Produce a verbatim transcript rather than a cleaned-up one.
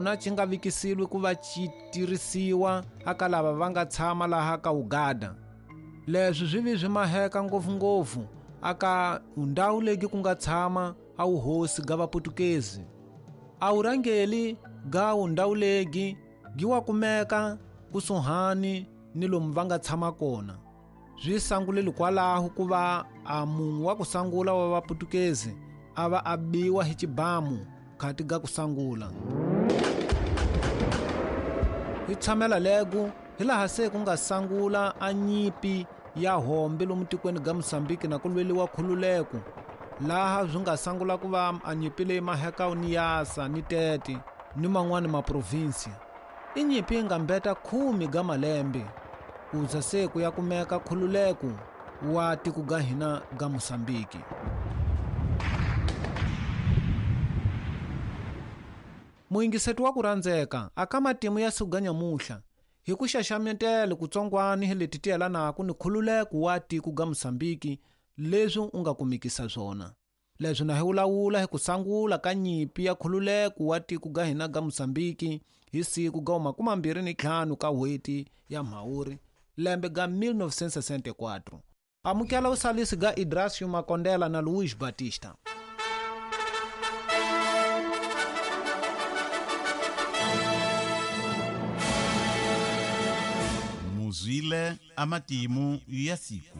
Na xi nga vikisilwi ku va xi tirhisiwa aka lava va nga tshama laha ka Uganda. Leswi swi vi swi maheka ngopfungopfu aka ndhawu leyi ku nga tshama a wuhosi ga Vaputukezi. A wurhangeli ga ndhawu leyi gi wa kumeka kusuhani ni lomu va nga tshama kona. Swi sanguleli kwalaho ku va a munhu wa ku sangula wa Vaputukezi a va a biwa hi xibamu khati ga ku sangula. Hi tshamela lego hi laha se ku nga sangula a nyipi ya hombe lomu tikweni ga Mozambique na ku lweliwa khululeko, laha swi nga sangula ku va a nyipi leyi maheka ni Yasa ni Tete ni man'wani maprovinsi. I nyipi yi nga mbeta khume ga malembe ku za se ku ya kumeka khululeko wa tiko ga hina ga Mozambique. Muyingiseti wa ku rhandzeka aka matimu ya siku ga nyamuhla hi ku xaxametela kutsongwani hi leti ti yelanaka ni khululeko wa tiko ga Mozambique leswi u nga kumikisa swona. Leswi na hi vulavula hi ku sangula ka nyipi ya khululeko wa tiko ga hina ga Mozambique hi siku ga makume mbirhi ni ntlhanu ka n'hweti ya Mhawuri lembe ga mil novecentos e sessenta e quatro. Amukela usalisi ga Idrasio Makondela na Luiz Batista. Muzwile amatimu ya siku.